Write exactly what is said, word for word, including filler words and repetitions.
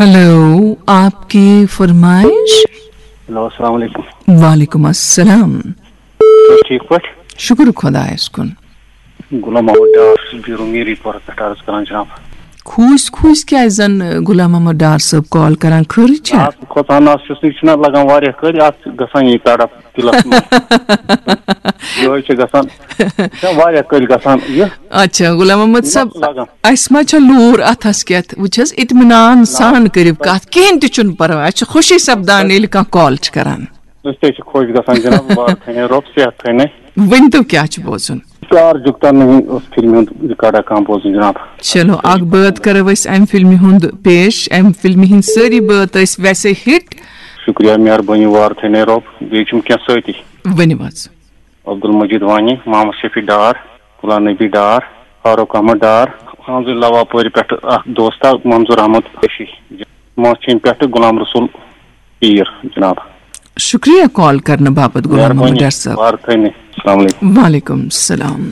Hello, آپ کی فرمائش؟ Hello, السلام علیکم۔ وعلیکم السلام۔ تُہۍ چھِو ٹھیٖک پٲٹھۍ؟ شکر خدایس کُن۔ غلام محمد ڈار چھُس بیروٗ میٖری پورہ پٮ۪ٹھ عرض کران جناب۔ کھوٗژۍ کھوٗژۍ کیٛازِ زن غلام محمد ڈار صٲب کال کران؟ خٲرٕے چھا؟ اَتھ کھۄژان نہ حظ چھُس نہٕ، یہِ چھُنہ لگان واریاہ کٲلۍ، اَتھ چھِ گژھان یہِ تڑپ دِلس منٛز۔ یِہوٚے چھِ گژھان، یہِ چھِ واریاہ کٲلۍ گژھان یہِ۔ اچھا غلام محمد صٲب، لگان۔ اسہِ ما چھےٚ لوٗر اتھس کٮ۪تھ؟ وٕچھ حظ، اطمینان سان کٔرِو کتھ، کِہیٖنۍ تہِ چھُنہٕ پرواے، اسہِ چھِ خوشی سپدان ییٚلہِ کانٛہہ کال چھِ کران۔ أسۍ تہِ چھِ خۄش گژھان جناب، وار تھٲینَے رۄب، صحت تھٲینَے۔ ؤنۍ تو کیٛاہ چھُ بوزُن؟ پیار جھکتا نہیں اوس فِلمہِ ہُنٛد ریکارڈا کانٛہہ بوزُن جناب۔ چلو، اکھ بٲتھ کرو أسۍ امہِ فِلمہِ ہُنٛد پیش۔ امہِ فِلمہِ ہٕنٛدۍ سٲری بٲتھ ٲسۍ ویسے ہِٹ۔ شُکریہ، مہربٲنی، وار تھٲینَے رۄب۔ بیٚیہِ چھُم کینٛہہ سۭتی۔ ؤنِو حظ۔ عبدالمجید وانی، محمد شفیع ڈار، غلام نبی ڈار، فاروق احمد ڈار، حامزِ لواپورِ پٮ۪ٹھٕ اکھ دوستا منظور احمد قریشی۔ ماچھِنۍ پٮ۪ٹھٕ غلام رسول پیٖر جناب۔ شُکریہ کال کرنہٕ باپتھ غلام محمد مہربٲنی، ڈار صٲب۔ وار تھٲینَے۔ السلام علیکم۔ وعلیکم السلام۔